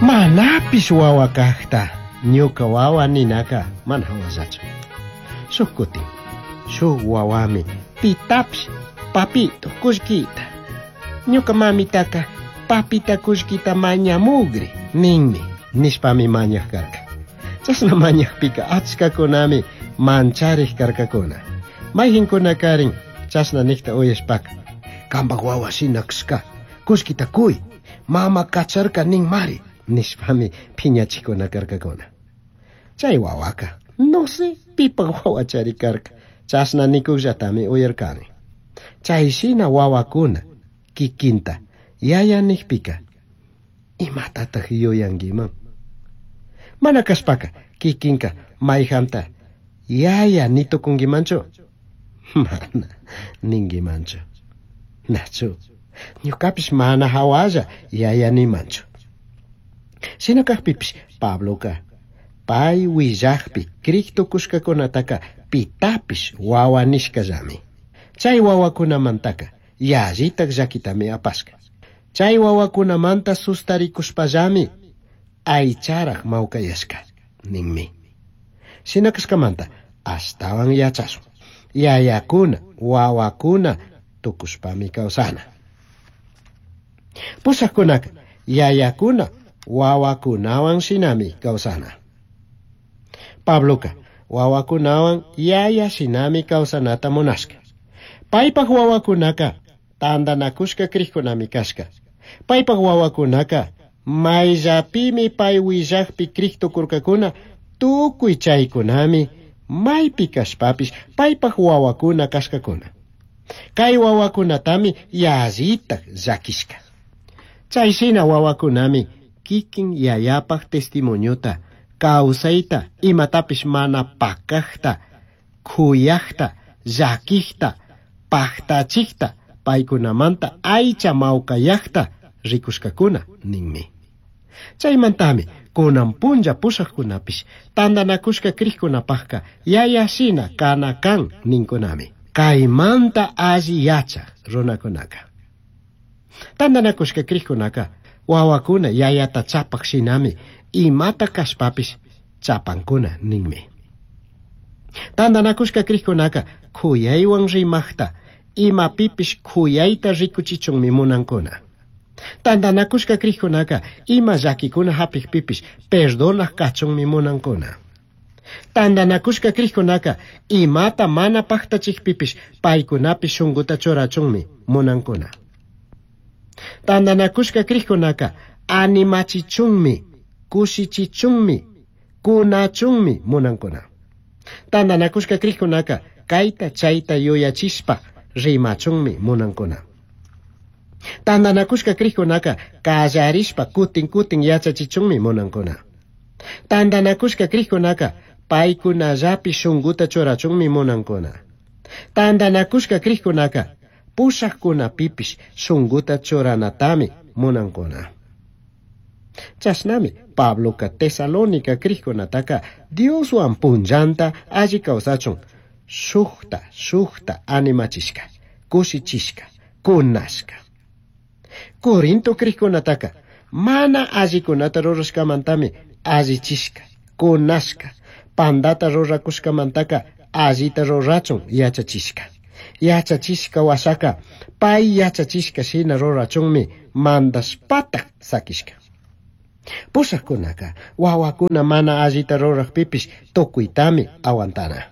Manapish wawa kajta ñuka wawa ninaka mana hawallachu. Shuk kutin, shuk wawami pitapish papito kullkita. Ñuka mamitaka papita kullkita mañamugri ninmi nishpami mañaj karka. Chashna mañajpika achkakunami mancharik karkakuna. Mayqinkunakarin chashna nikta uyashpaka kambak wawa shina kashka kullkita kuy mama kacharka ninmari nishpami phiñachikuna karkakuna. Chay wawaka no sé pipak wawachari karka chashna nikuqllatami uyarkani. Chay shina wawakuna kikinta yaya nikpika imatataq yuyankiman? Mana kashpaka kikinka mayjanta yaya nitukunkimanchu? Mana ninkimanchu. Nachu, ñukapish mana hawalla yaya nimanchu. Shina kajpipish Pabloka pay willajpi krik tukushkakunataka pitapish wawa nishkallami. Chay wawakunamantaka yallitak llakitami apashka. Chay wawakunamanta sustarikushpallami aycharaj mawkayashka ninmi. Shina kashkamanta ashtawan yachashun. Yayakuna, wawakuna tukushpami kawsana. Pushaqkunaka yayakuna, wawakunawan shinami kawsana. Pabloka wawakunawan yaya shinami kawsanata munashka. Paypak wawakunaka tantanakushka krikkunami kashka. Paypak wawakunaka mayllapimi pay willajpi krik tukurkakuna tukuy chaykunami maypi kashpapish paypak wawakuna kashkakuna. Kay wawakunatami yallitak llakishka. Chay shina wawakunami kikin yayapak testimoniota, kawsayta, imatapish mana pakajta, kuyajta, llakijta, paktachikta, paykunamanta aycha mawkayajta rikushkakuna ninmi. Chaymantami kunan punlla pushaqkunapish tantanakushka krikkunapaqka yaya shina kana kan ninkunami. Kaymanta alli yachaj runakunaka. Tantanakushka krikkunaka wawakuna yayata chapaq shinami imata kashpapish chapankuna ninmi. Tantanakushka krikkunaka kuyaywan rimaqta imapipish kuyayta rikuchichunmi munankuna. Tantanakushka krikkunaka ima llakikuna hapikpipish perdonaq kachunmi munankuna. Tantanakushka krikkunaka imata mana paktachikpipish paykunapish shunkuta churachunmi munankuna. Tantanakushka krikkunaka animachichunmi, kushichichunmi, kunachunmi munankuna. Tantanakushka krikkunaka kayta chayta yuyachishpa rimachunmi munankuna. Tantanakushka krikkunaka kallarishpa kutin kutin yachachichunmi munankuna. Tantanakushka krikkunaka paykunallapi shunkuta churachunmi munankuna. Tantanakushka krikkunaka pushaqkunapipish shunkuta churanatami munankuna. Chashnami Pabloka Tesalónica krikkunataka Dioswan punllanta alli kawsachun shukta shukta animachishka, kushichishka, kunashka. Corinto krikkunataka mana allikunata rurashkamantami allichishka, kunashka, pandata rurakushkamantaka allita rurachun yachachishka. Yachachishka washaka pay yachachishka shina rurachunmi mandashpatak sakishka. Pushaqkunaka wawakuna mana allita ruraqpipish tukuytami aguantana.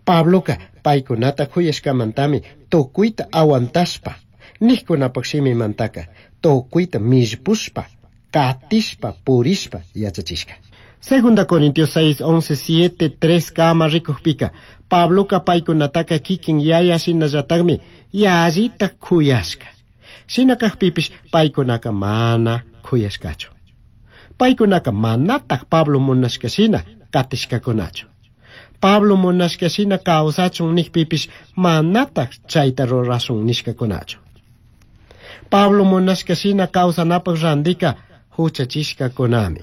Pabloka paykunata kuyashkamantami tukuyta aguantashpa niqkunapak shimimantaka tukuyta millpushpa katishpa purishpa yachachishka. Segunda Corintios 6, 11, 7, 3 kama rikujpika Pabloka paykunataka kikin yaya shinallataqmi yallita kuyashka. Shina kajpipish paykunaka mana kuyashkachu. Paykunaka manataq Pablo munashka shina katishkakunachu. Pablo munashka shina kawsachun nikpipish manataq chayta rurashun nishkakunachu. Pablo munashka shina kawsanapaq randika huchachishkakunami.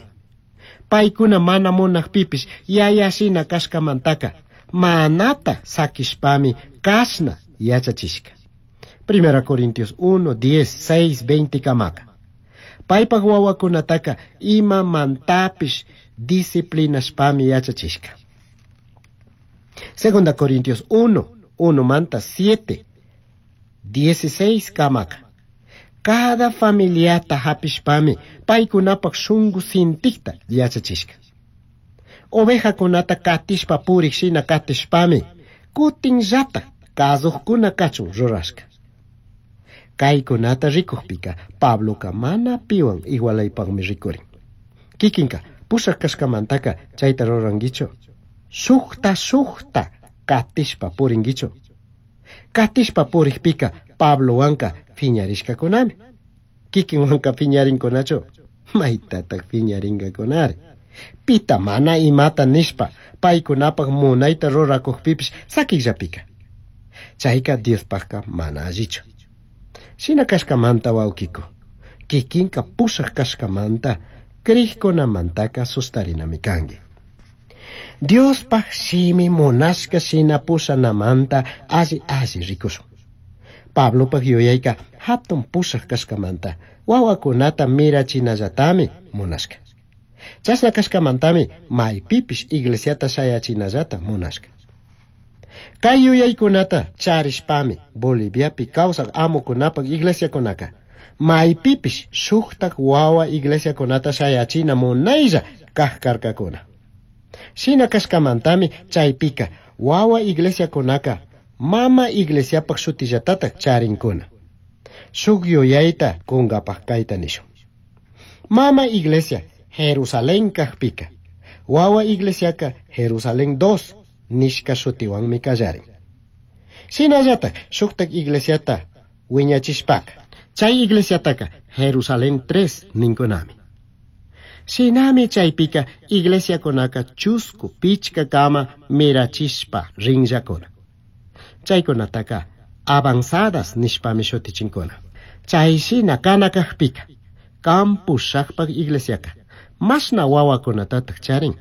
Paykuna mana munaqpipish yaya shina kashkamantaka manata sakishpami kashna yachachishka. Primera Corintios 1, 10, 6, 20 kamaka. Paypaj wawakunataka imamantapish disciplinashpami yachachishka. Segunda Corintios 1, 1 manta 7, 16 kamaka. Cada familiata hapishpami paykunapaj shungu sintikta yachachishka. Ovejakunata katishpa purik shina katishpami kutinllata kazujkuna kachun rurashka. Kaykunata rikukpika Pabloka mana piwan igualaypaqmi rikurin. Kikinka pushak kashkamantaka chayta rurankichu. Shukta shukta katishpa purinkichu. Katishpa purikpika Pablowanka phiñarishkakunami. Kikinwanka phiñarinkunachu. Maytataq phiñarinkakunari. Pita mana imata nishpa paykunapaq munayta rurakukpipish sakikllapika. Chayka Diospaqka mana allichu. Shina kashkamanta wawkiku. Kikinka pushak kashkamanta krikkunamantaka sustarinami kanki. Diospaq shimi munashka shina pushanamanta alli alli rikushun. Pablopaq yuyayka hatun pushak kashkamanta wawakunata mirachinallatami munashka. Chashna kashkamantami maypipish iglesiata shayachinallata munashka. Kay yuyaykunata charishpami Boliviapi kawsak amukunapaq iglesiakunaka maypipish shuktak wawa iglesiakunata shayachina munaylla kaq karkakuna. Shina kashkamantami chaypika wawa iglesiakunaka mama iglesiapaq shutillatataq charinkuna. Shuk yuyayta kunkapaq kayta nishun. Mama iglesia Jerusalén kaqpika wawa iglesiaka Jerusalén 2 nishka shutiwanmi kallarin. Shinallataq shuktak iglesiata wiñachishpaka chay iglesiataka Jerusalén 3 ninkunami. Shinami chaypika iglesiakunaka chusku pichka kama mirachishpa rinllakuna. Chaykunataka avanzadas nishpami shutichinkuna. Chay shina kana kaqpika kan pushakpaq iglesiaka mashna wawakunatataq charin.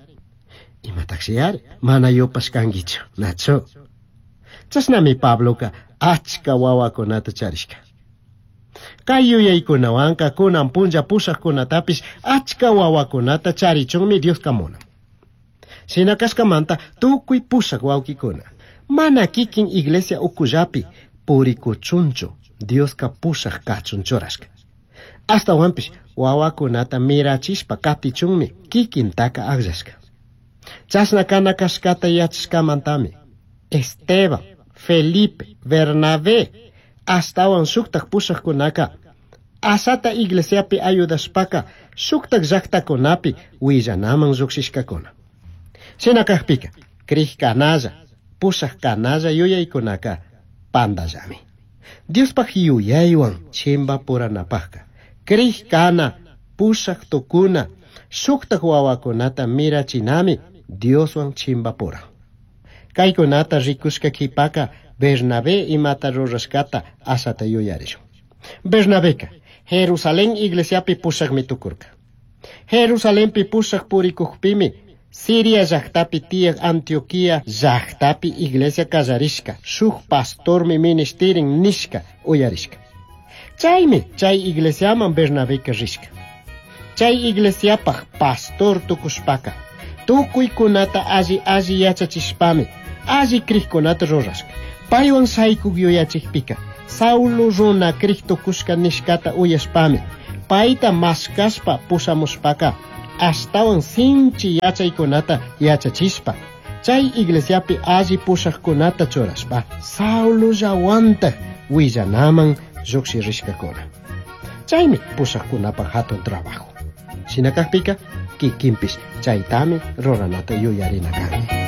Imataqshi ari mana yupashkankichu, nachu. Chashnami Pabloka achka wawakunata charishka. Kay yuyaykunawanka kunan punlla pushakkunatapish achka wawakunata charichunmi Dioska munan. Shina kashkamanta tukuy pushak wawkikuna mana kikin iglesia ukullapi purikuchunchu Dioska pushak kachun churashka. Ashtawanpish wawakunata mirachishpa katichunmi kikintaka akllashka. Chashna kana kashkata yachashkamantami Esteban, Felipe, Bernabé ashtawan shuktak pushakkunaka asata iglesiapi ayudashpaka shuktak llaqtakunapi willanaman lluqshishkakuna. Shina kaqpika krik kanalla, pushak kanalla yuyaykunaka pandallami. Diospaq yuyaywan chimbapuranapaqka krik kana, pushak tukuna, shuktak wawakunata mirachinami Dioswan chimbapura. Kaykunata rikushka qhipaka Bernabé imata rurashkata asata yuyarishun. Bernabeka Jerusalén iglesiapi pushakmi tukurka. Jerusalenpi pushak purikukpimi Siria llaqtapi tiyaq Antioquia llaqtapi iglesia kallarishka shuk pastormi ministirin nishka uyarishka. Chaymi chay iglesiaman Bernabeka rishka. Chay iglesiapaq pastor tukushpaka tukuykunata alli alli yachachishpami alli krikkunata rurashka. Paywan shaykuk yuyachikpika Saulo runa krik tukushka nishkata uyashpami payta mashkashpa pushamushpaka ashtawan sinchi yachaykunata yachachishpa chay iglesiapi alli pushakkunata churashpa Saulollawantaq willanaman lluqshirishkakuna. Chaymi pushakkunapaq hatun trabajo. Shina kaqpika kikinpish chaytami ruranata yuyarina kanki.